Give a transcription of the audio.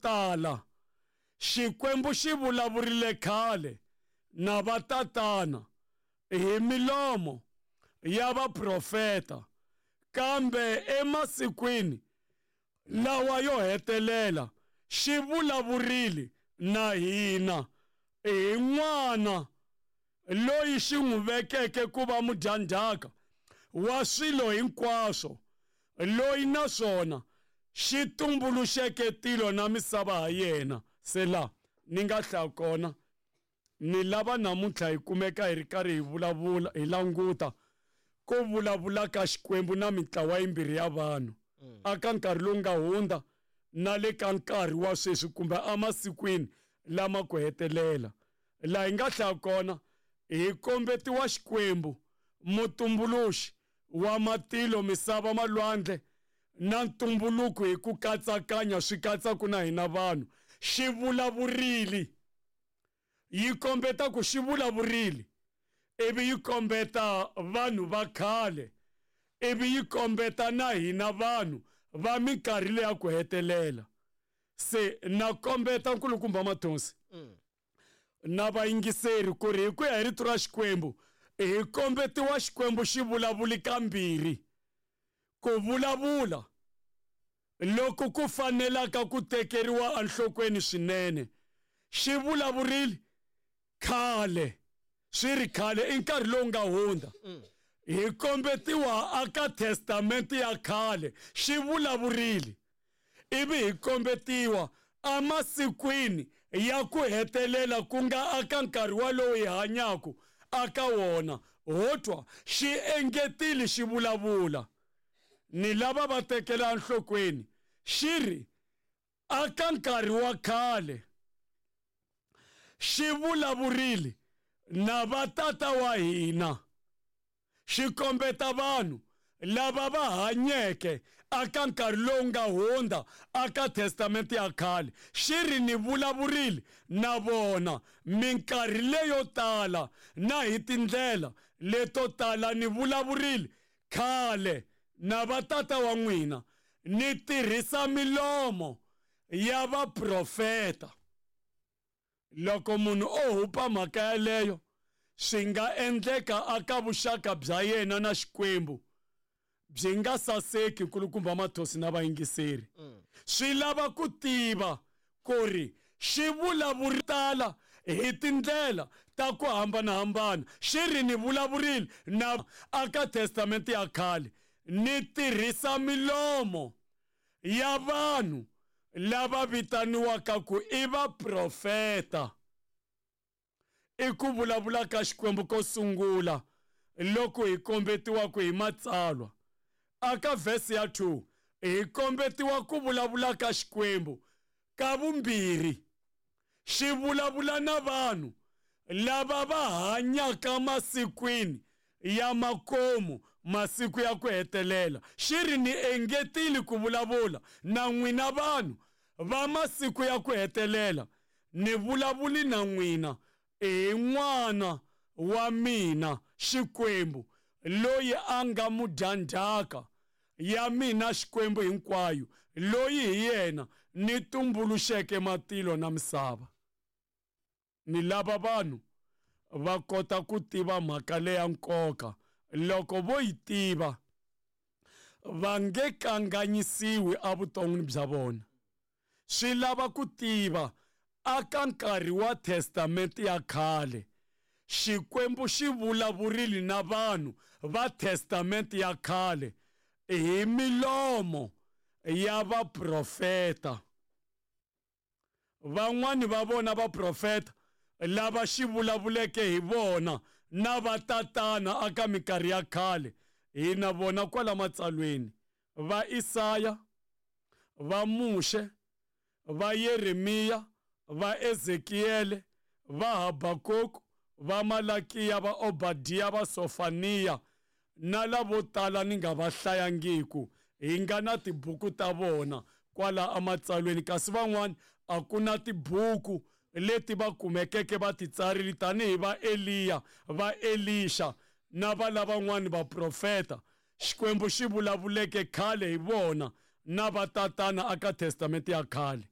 tala Xikwembu xi vulavurile khale na vatatana hi milomo ya vaprofeta, kambe emasikwini lawa yo hetelela xi vulavurile na hina hi N'wana loyi xi n'wi vekeke ku va mudyandzhaka wa swilo hinkwaswo, loyi naswona xi tumbuluxeke tilo na misava ha yena. Se la ni nga hlaya kona, ni lava namuntlha hi kumeka hi ri karhi hi vulavula hi languta ku vulavula ka Xikwembu na mintlawa yimbirhi ya vanhu aka nkarhi lowu nga hundza na le ka nkarhi wa sweswi kumbe emasikwini lama ku hetelela. Laha hi nga hlaya kona hi kombetiwa Xikwembu mutumbuluxi wa matilo, misava, malwandle na ntumbuluko hi ku katsakanya swi katsaku na hina vanhu. Xi vulavurile, yi kombeta ku xi vulavurile ivi yi kombeta vanhu va khale ivi yi kombeta na hina vanhu va minkarhi leya ku hetelela. Se na kombeta nkulukumba Mathonsi na vayingiseri ku ri hi ku ya hi rito ra Xikwembu hi kombetiwa Xikwembu xi vulavuli kambirhi ku vulavula loku ku fanelaka ku tekeriwa enhlokweni swinene. Xi vulavurile khale, swi ri khale i nkarhi lowu nga hundza. Hi kombetiwa aka Testamente ya khale xi vulavurile ivi hi kombetiwa emasikwini ya ku hetelela ku nga aka nkarhi walowu hi hanyaku aka wona. Ho twa xi engetile xi vulavula ni lava va tekela enhlokweni xi ri aka nkarhi wa khale xi vulavurile na vatata wa hina xi kombeta vanhu lava va hanyeke aka nkarhi lowu nga hundza aka Testamente ya khale xi ri ni vulavurile na vona minkarhi leyo tala na hi tindlela leto tala ni vulavurile khale na vatata wa n'wina ni tirhisa milomo ya vaprofeta. Loko munhu o hupa mhaka yaleyo swi nga endleka aka vuxaka bya yena na Xikwembu byi nga saseki nkulukumba Mathosi na vayingiseri. Swi lava ku tiva ku ri xi vulavuri tala hi tindlela ta ku hambanahambana xi ri ni vulavurile na aka Testamente ya khale ni tirhisa milomo ya vanhu lava vitaniwaka ku i vaprofeta. I ku vulavula ka Xikwembu ko sungula loko hi kombetiwaka hi Matsalwa. Aka vhesi ya 2 hi kombetiwa ku vulavula ka Xikwembu ka vumbirhi. Xi vulavula na vanhu lava va hanyaka masikwini ya makomu, masiku ya ku hetelela. Xi ri, Ni engetile ku vulavula na n'wina vanhu va masiku ya ku hetelela, ni vulavuli na n'wina hi N'wana wa mina, Xikwembu, loyi a nga mudyandzhaka ya mina Xikwembu hinkwayo, loyi hi yena ni tumbuluxeke matilo na misava. Ni lava vanhu va kota ku tiva mhaka leya nkoka. Loko vo yi tiva, va nge kanganyisiwi evuton'wini bya vona. Swi lava ku tiva aka nkarhi wa Testamente ya khale, Xikwembu xi vulavurile na vanhu va Testamente ya khale hi milomo ya vaprofeta. Van'wani va vona vaprofeta lava xi vulavuleke hi vona na vatatana aka minkarhi ya khale, hi na vona kwala matsalweni, va Isaya, va Muxe, va Yeremiya, va Ezekiyele, va Habakuku, va Malakiya, va Obadiya, va Sofaniya na lavo tala ni nga va hlayangiku, hi nga na tibuku ta vona kwala ematsalweni, kasi van'wana a ku na tibuku leti va kumekeke va ti tsarile tanihi va Eliya, va Elixa na va lavan'wana vaprofeta Xikwembu xi vulavuleke khale hi vona na vatatana aka Testamente ya khale.